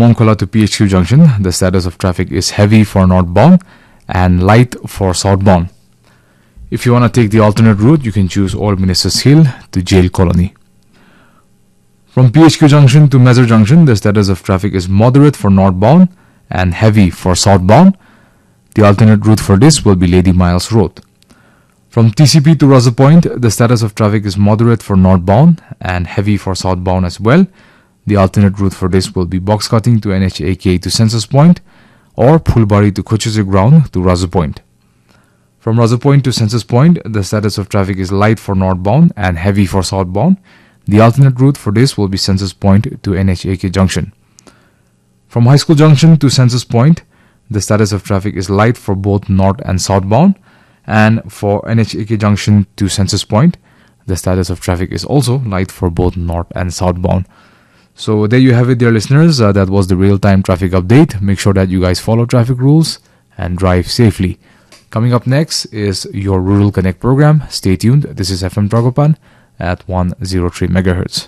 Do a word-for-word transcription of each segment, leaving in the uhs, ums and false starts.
Mongkhola to P H Q junction, the status of traffic is heavy for northbound and light for southbound. If you want to take the alternate route, you can choose Old Ministers Hill to Jail Colony. From P H Q junction to Mezar junction, the status of traffic is moderate for northbound and heavy for southbound. The alternate route for this will be Lady Miles Road. From T C P to Raza Point, the status of traffic is moderate for northbound and heavy for southbound as well. The alternate route for this will be box cutting to N H A K to Census Point or Phulbari to Kochuche Ground to Raza Point. From Raza Point to Census Point, the status of traffic is light for northbound and heavy for southbound. The alternate route for this will be Census Point to N H A K junction. From High School junction to Census Point, the status of traffic is light for both north and southbound. And for N H A K junction to Census Point, the status of traffic is also light for both north and southbound. So there you have it, dear listeners. Uh, that was the real-time traffic update. Make sure that you guys follow traffic rules and drive safely. Coming up next is your Rural Connect program. Stay tuned. This is F M Dragopan at one zero three megahertz.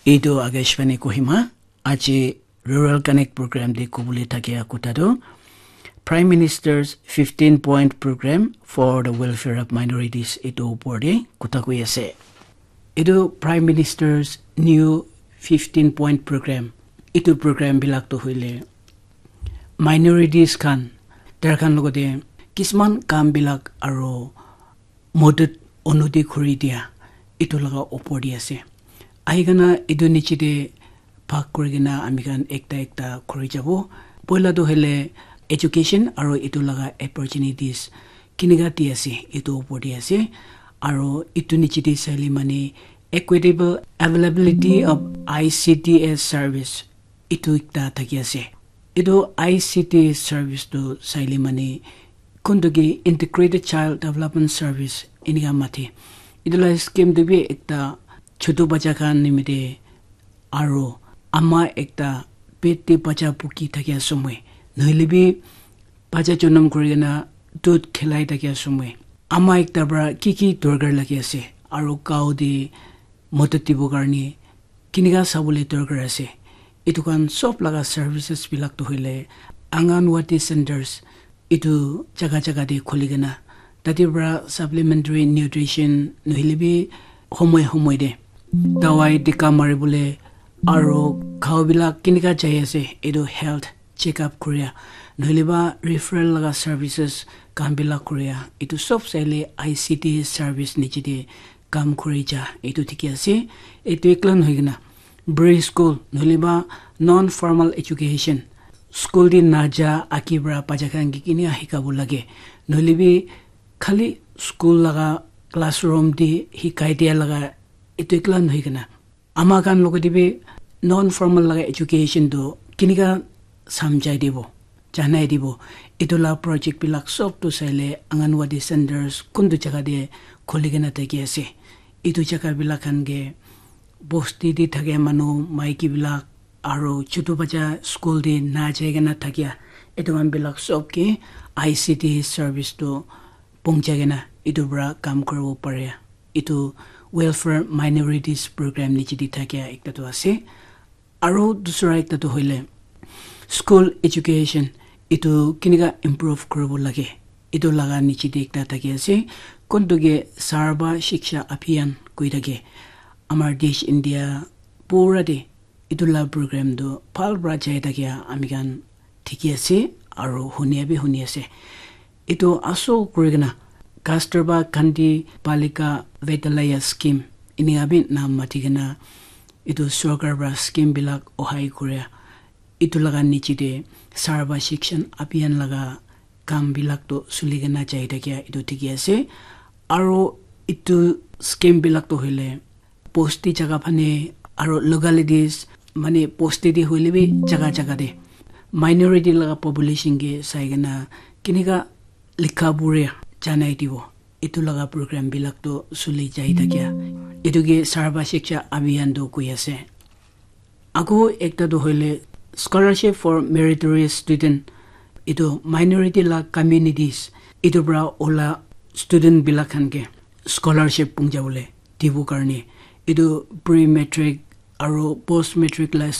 Etu Akashvani Kohima, aji Rural Connect program de kubule thakia kuta tu Prime Minister's fifteen point program for the welfare of minorities etu upor de kuta koi ase. Etu Prime Minister's new fifteen point program, etu program bilak tu hoile minorities khan, tar khan logote kisman kam bilak aro modot unnoti khuri dia etu laga upor de ase. Ahi kena etu niche de bhag kuri kena ami khan ekta ekta khuri jabo. Poila tu hoile education aro etu laga opportunities kinika di ase etu upor de ase. Aro etu niche de saile mane equitable availability of I C T S service etu ekta thaki ase. Etu I C T service tu saile mane kuntu ki Integrated Child Development Service enika mati. Etu la scheme tu bi ekta chutu bacha khan nimite aro ama ekta pet te bacha buki thakia somoi, nohile bi bacha jonam kuri kena dud khilai thakia somoi, ama ekta para ki ki dorkar lagi ase aro gao te modot dibo karne kinika sabole dorkar ase. Etu khan sob laga services bilak tu hoile Anganwadi centers etu jaga jaga te khuli kena tate para supplementary nutrition nohile bi homoi homoi de dawai tika mari bole aro gao bilak kinika jai ase etu health check up kuria nohile ba referral laga services khan bilak kuria etu sob saile I C T service niche de kam kuri ja etu dikhi ase. Etu ekla nohoi kena preschool nohole ba non formal education, school de naja aki para bacha khan ke kinika hikabo lage, nohole bi khali school laga classroom de hikai dia laga etu ekla nohoi kena ama khan logote bi non formal laga education tu kinika samjhai dibo, janai dibo, etu la project bilak sob tu saile Anganwadi centers kuntu jaga de khuli kena thaki ase. Etu jaga bilak khan ke bosti de thake manu maiki bilak aro chutu bacha school de na jai kena thakia etu khan bilak sob ke I C T service tu pongchai kena etu para kam kuribo pare. Etu welfare minorities program niche de thakia ekta tu ase. Aro dusra ekta tu hoile school education etu kinika improve kuribo lage etu laga niche de ekta thaki ase. Kuntu ke Sarva Shiksha Abhiyan koi thake. Amar desh India pura de etu la program tu bhal para jai thakia ami khan dikhi ase aro hunia bi huni ase. Etu asol kuri kena Kasturba Gandhi Balika Vidyalaya scheme enika bi naam mati kena etu sorkar para scheme bilak ohai kuria etu laga niche de Sarva Shiksha Abhiyan laga kam bilak tu suli kena jai thakia etu dikhi ase. Aro etu scheme bilak tu hoile bosti jaga phane aro localities mane bosti de hoile bi jaga jaga de minority laga population ke sai kena kinika likha pure janai dibo. Etu laga program bilak tu suli jai thakia etu ke Sarva Shiksha Abhiyan tu koi ase. Ako ekta tu hoile scholarship for meritorious student, etu minority la communities etu para ola student bilak khan ke scholarship pongja bole dibo karne etu pre matric aro post matric la